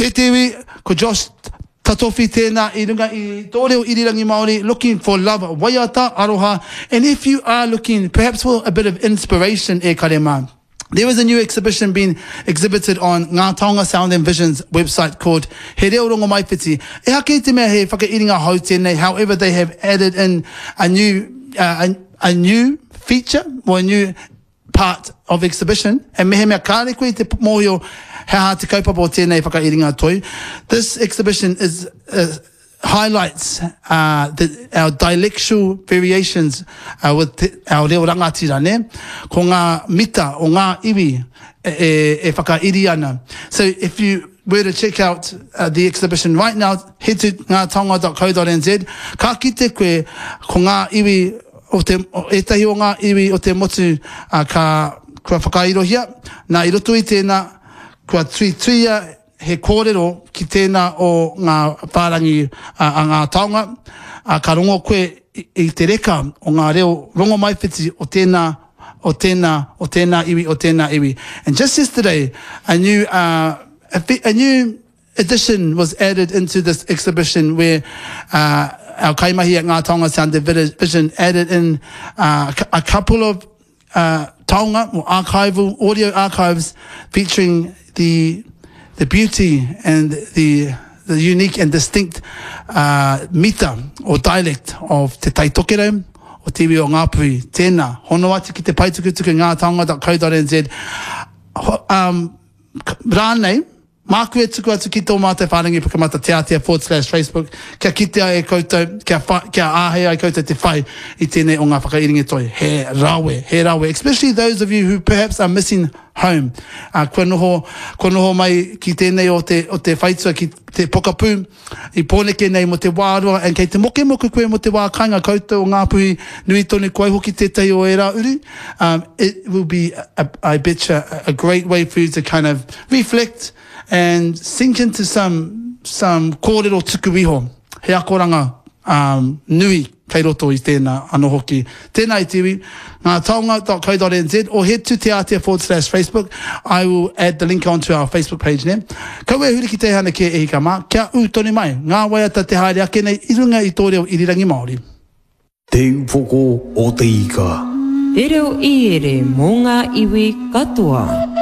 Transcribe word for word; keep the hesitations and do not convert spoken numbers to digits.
E te iwi, ko Josh Tatofi tēnā i runga i tō reo irirangi Māori, looking for love, waiata, aroha, and if you are looking perhaps for a bit of inspiration e kare mā, there is a new exhibition being exhibited on Ngā Taonga Sound and Vision's website called He Reo Rongomaiwhiti. Ehake i te mea he whakairinga hou tēnei, however they have added in a new, uh, a, a new feature or a new part of exhibition, and mehemea kāre koe i te mōhio he aha te kaupapa o tēnei whakairinga toi, this exhibition is uh, highlights uh, the, our dialectual variations uh, with te, our reo rangatira, ne? Ko ngā mita o ngā iwi e, e, e whakairi ana. So if you were to check out uh, the exhibition right now, head to ngātaonga.co.nz, ka kite koe ko ngā iwi o te, o ētahi o ngā iwi o te motu uh, ka, kua whakairohia, nā i roto i tēnā, kua tuituia he kōrero ki tēnā o ngā whārangi a, a ngā taonga, a, ka rongo koe i, i te reka o ngā reo rongomaiwhiti o tēnā, o tēnā, o tēnā iwi, o tēnā iwi. And just yesterday, a new, uh, a, a new edition was added into this exhibition where uh, our kaimahi at Ngā Taonga Sound Vision added in uh, a couple of uh, taonga or archival audio archives featuring the the beauty and the the unique and distinct uh, mita or dialect of Te Tai Tokerau o te iwi o Ngāpuhi. Tēnā, hono atu ki te paetukutuku ngā taonga.co.nz. Um, rānei, māku e tuku atu ki tō mātou whārangi pukamata te ātea forward slash Facebook, kia kitea e koutou, kia, wha, kia āhei ai koutou te whai i tēnei o ngā whakairinga toi. He rawe, he rawe. Especially those of you who perhaps are missing home. Uh, kua noho, kua noho mai ki tēnei o te, o te whaitua ki te pokapū i Pōneke nei mo te wā roa, and kei te mokemoke koe mo te wā kāinga koutou o Ngāpuhi nui tonu koe hoki tētahi o ērā uri. Um, it will be, a, I betcha, a great way for you to kind of reflect and sink into some, some kōrero tuku iho. He akoranga um, nui kei roto i tēnā anō hoki. Tēnā i te iwi, ngā taonga.co.nz or head to te ātea forward slash Facebook. I will add the link onto our Facebook page ne. Kaua e huri ki te hana ke e hika mā, kia ū tonu mai. Ngā waiata te haere ake nei i runga i tō reo irirangi Māori. Te upoko o te ika. Te reo iere mō ngā iwi katoa.